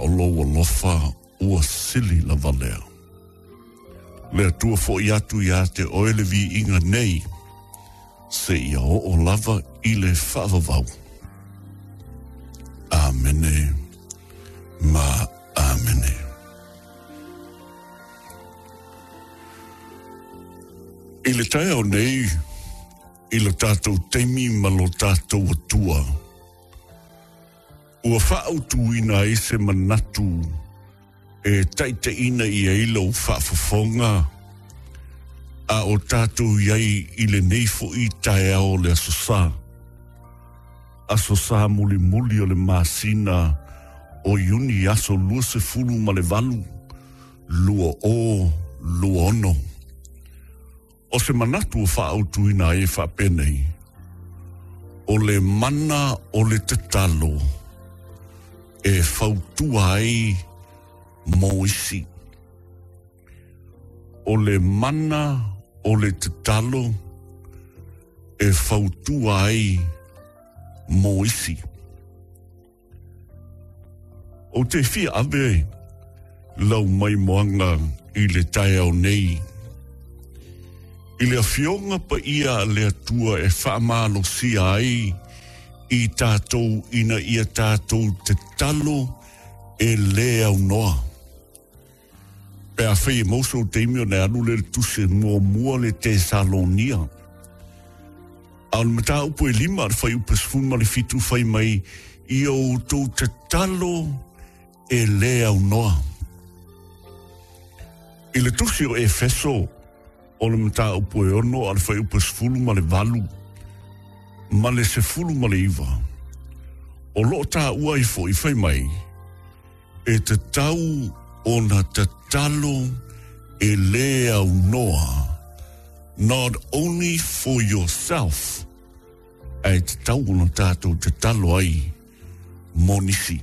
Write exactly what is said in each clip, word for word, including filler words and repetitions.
o lou alofa ua sili lava lea. Le Atua fo'i atu ia te oe le viiga nei, seia oo lava i le faavavau. Amene ma amene. I le taeao nei, i le tatou taimi ma lo tatou Atua, ua faautuina ai se manatu e taitaiina i ai lou faafofoga a o tatou i ai i lenei fo'i taeao o le Aso Sa. Aso Sa mulimuli o le masina o Iuni aso luasefulu ma le valu, lua o lua ono. O se manatu ua faautuina ai e faapenei, o le mana o le tatalo e fautua ai mo isi. O le mana o le tatalo e fautua ai mo isi. O te fia ave lau maimoaga i le taeao nei, i le afioga paia a le Atua e faamalosia ai i tatou ina ia tatou tatalo e lē aunoa. Pe afai e maua sou taimi ona e alu lea i le tusi muamua le Tesalonia. A o le mataupu e lima a le fuaiupu sefulu ma le fitu fai mai, ia outou tatalo e lē aunoa. I le tusi o Efeso, o le mataupu e ono a le fuaiupu sefulu ma le valu ma le sefulu ma le iva, o loo taua ai fo'i fai mai, e tatau ona tatalo e lē aunoa, not only for yourself, ae tatau ona tatou tatalo ai mo nisi.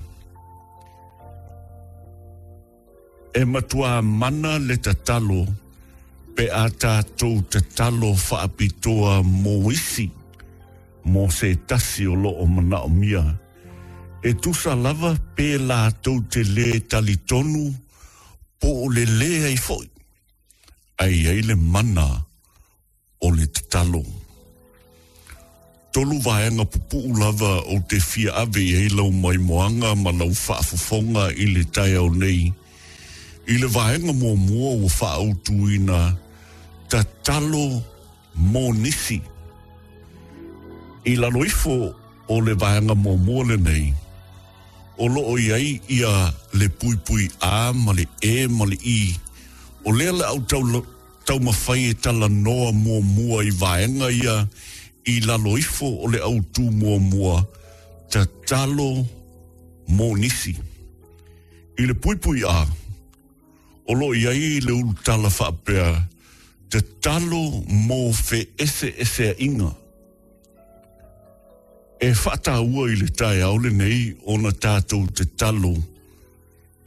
E matua mana le tatalo pe a tatou tatalo faapitoa mo isi, mo se tasi o loo manaomia. E tusa lava pe latou te lē talitonu po o le lē ai fo'i, ae i ai le mana o le tatalo. Tolu vaega pupuu lava ou te fia ave i ai lau maimoaga ma lau faafofoga i le taeao nei. I le vaega muamua ua faautuina, tatalo mo nisi. I lalo ifo o le vaega muamua lenei, o loo i ai ia le puipui A ma le E ma le I. O lea le au tau, taumafai e talanoa muamua i vaega ia i lalo ifo o le autū muamua, tatalo mo nisi. I le puipui A, o loo i ai le ulutala faapea, tatalo mo feeseeseaiga. E faataua i le taeao lenei ona tatou tatalo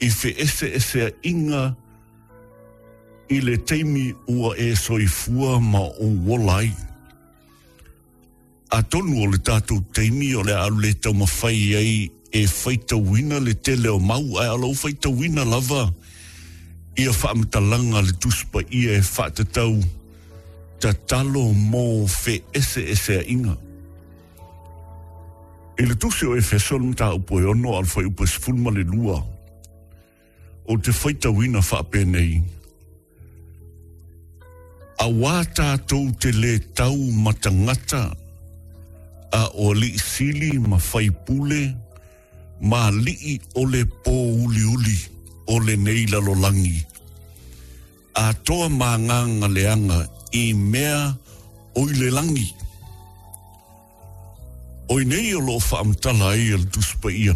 i feeseeseaiga i le taimi ua e soifua ma ou ola ai. Atonu o le tatou taimi o le a alu le taumafai ai e faitauina le tele o mau, ae o lau faitauina lava ia faamatalaga a le Tusi Paia e faatatau tatalo mo feeseeseaiga. I le tusi o Efeso le mataupu e ono a le fuaiupu e sefulu ma le lua, o te faitauina faapenei, auā tatou te lē tau ma tagata, a o alii sili ma faipule ma alii o le pōuliuli o lenei lalolagi, atoa ma agaga leaga i mea o i le lagi. O i nei o loo faamatala ai e le Tusi Paia,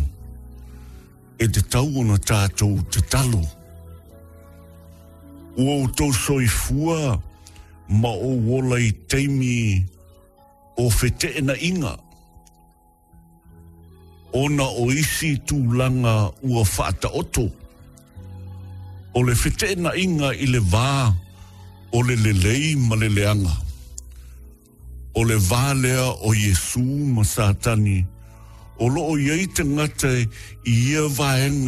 e tatau ona tatou tatalo. Ua outou soifua ma ou ola i taimi o feteenaiga, ona o isi tulaga ua faataoto. O le feteenaiga i le va o le lelei ma le leaga, o le va lea o Iesu ma Satani, o loo i ai tagata i ia vaega.